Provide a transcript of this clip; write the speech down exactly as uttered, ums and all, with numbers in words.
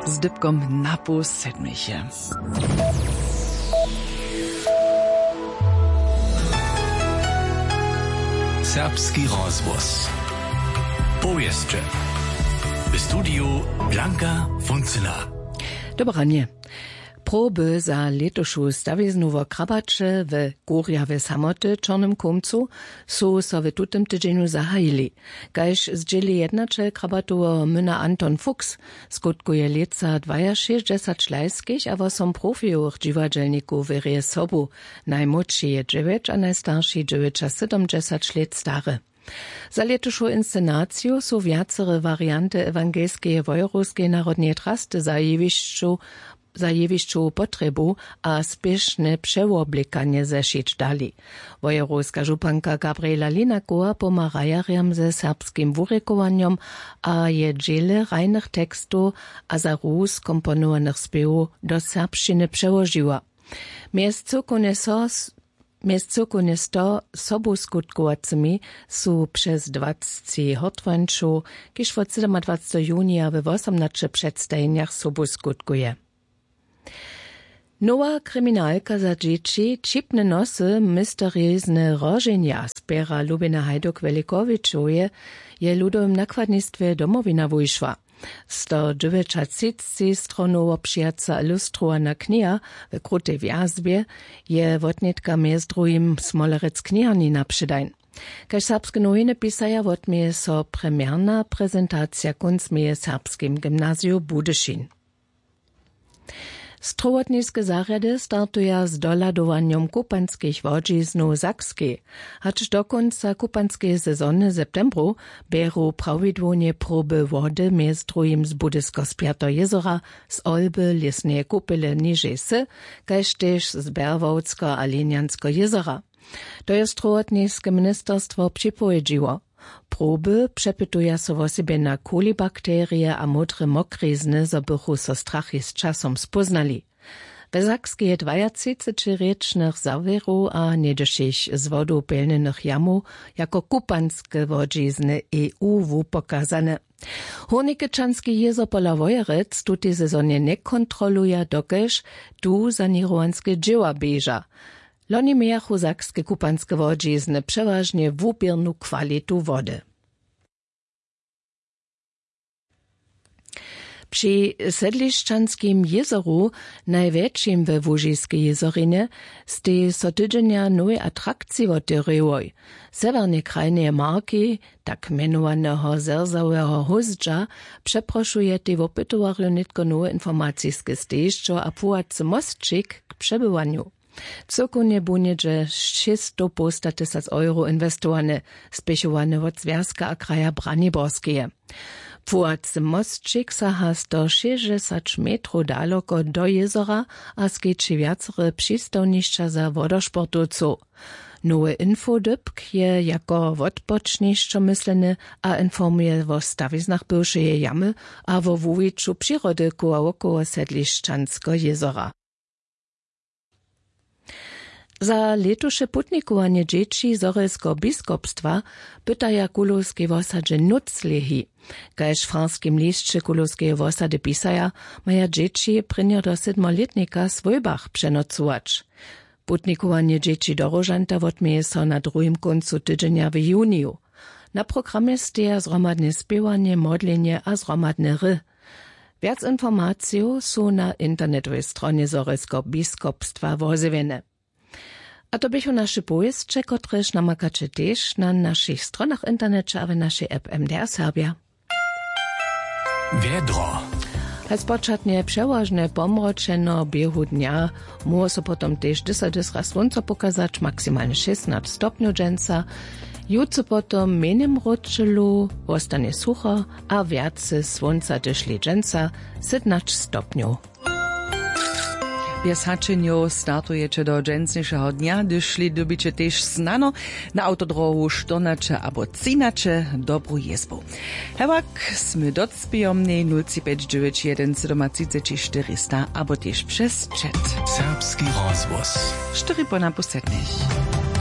Z dypkom na pół sedmich je. Serbski rozhłos. Powěsće. W studiju Blanka Funcyna. Dobranje. Proby za lětušu stawiznu wo krabaće w kurjawje samoty w čornym kumcu su so w tutym tydźenju zahajili. Kaž zdźěli jednaćel krabatoweho myna Anton Fuchs, skutkuje lětsa dwajašěsćdźesać lajskich a wosom profijowych dźiwadźelnikow w rěje sobu. Najmłódši je dźewjeć a najstarši dźewjećasydomdźesać lět stary. Za lětušu inscenaciju su wjacere warianty ewangelskeje wojerowskeje narodneje trasty za jewišću za jewišćowu potrjebu a spěšne přewoblěkanje zešić dali. Wojerowska županka Gabriela Linakowa pomha hrajerjam ze serbskim wurěkowanjom a je dźěle hrajnych tekstow a za Rus komponowanych spěwow do serbšćiny přełožiła. Mjez cyłkownje so mjez cyłkownje sto sobuskutkowacymi su přez dwacci hortwańćow, kiž wot sydomadwacteho junija we wosomnaće předstajenjach sobuskutkuje. Nowa kriminalka za dźěći, Ćipne nosy, mysterizne roženja z pěra Lubiny Hajduk-Wjelikowičoweje, je w ludowym nakładnistwje Domowina wušła. Stodźewjećatřicci stronow wobpřijaca ilustrowana kniha w krutej wjazbje je wotnětka mjez druhim Smolerec kniharni na předań. Kaž Serbske nowiny pisaja, wotměje so premjerna prezentacija kónc meje w Serbskim gymnaziju Budyšin. Strowotniske zarjady startuja z dohladowanjom kupanskich łodźiznow w Sakskej. Hač do kónca kupanskeje sezony w septembru bjeru prawidłownje proby wody mjez druhim z Budysko-Spjateho jězora, z Olby, Lěsneje kupele nižej wsy, kaž tež z Berłowskeho a Linjanskeho jězora. To je strowotniske ministerstwo připowědźiło. Proby přepytuja so wosebje na kolibakterije a módre mokrizny, zo bychu so strachi z časom spóznali. We Sakskej je dwajatřicećirěčnych zawěrow a něhdyšich z wodu pjelnjenych jamow jako kupanske łodźizny E U wupokazane. Hórnikečanski jězor pola Wojerec w tutej sezonje njekontroluja, dokelž tu saněrowanske dźěła běža. Loni mějachu sakske kupanske łodźizny přewažnje wuběrnu kwalitu wody. Při Sedlišćanskim jězoru, najwjetšim we Łužiskej jězorinje, stej so tydźenja nowej atrakciji wotewrěłoj. Sewjernej krajneje marki, tak mjenowaneho zerzaweho hózdźa, přeprošujetej wopytowarjow nětko nowe informaciske stejišćo a płuwacy mosćik k přebywanju. Cyłkownje bu něhdźe šěsćstowpołstatysac euro inwestowane, spěchowane wot Zwjazka a kraja Braniborskeje. Płuwacy mosćik saha sto šěsćdźesać metrow daloko do jězora a skeći wjacere přistawnišća za wodosportowcow. Nowy infodypk je jako wotpočnišćo mysleny a informuje wo stawiznach bywšeje jamy a wo wuwiću přirody koła wokoło Sedlišćanskeho jězora. Za lětuše putnikowanje dźěći Zhorjelskeho biskopstwa pytaja w Kulowskej wosadźe nutř lehi. Kaž w Farskim lisće Kulowskeje wosady pisaja, maja dźěći prěnjo do sydmolětnika w swójbach přenocować. Putnikowanje dźěći do Róžanta wotměje so na druhim kóncu tydźenja w juniju. Na programje steja zhromadne spěwanje, modlenje a zhromadne hry. Wjac informacijow su na internetowej stronje Zhorjelskeho biskopstwa wozjewjene. A to běchu naše powěsće, kotrež namakaće tež na našich stronach w interneće a w našej app M D R Serbja. Wjedro. Haj spočatnje přewažnje pomročeno, běhu dnja móhło so potom tež dysać raz słónco pokazać, maksimalnje šěsnaće stopnjow dźensa. Jutře potom w mjenjim ročelu wostanje sucho a wjace słónca dyšli dźensa, sytnaće stopnjow. Bjez hačenjow startujeće do dźensnišeho dnja, hdyž šli, dyrbiće tež snano na awtodrohu štyrnaće abo třinaće. Dobru jězbu. Hewak smy docpějomnej nul tři pjeć dźewjeć jedyn sydomatřiceći štyrista abo tež přez chat. Serbski rozhłos. Štyri po napoł sedmich.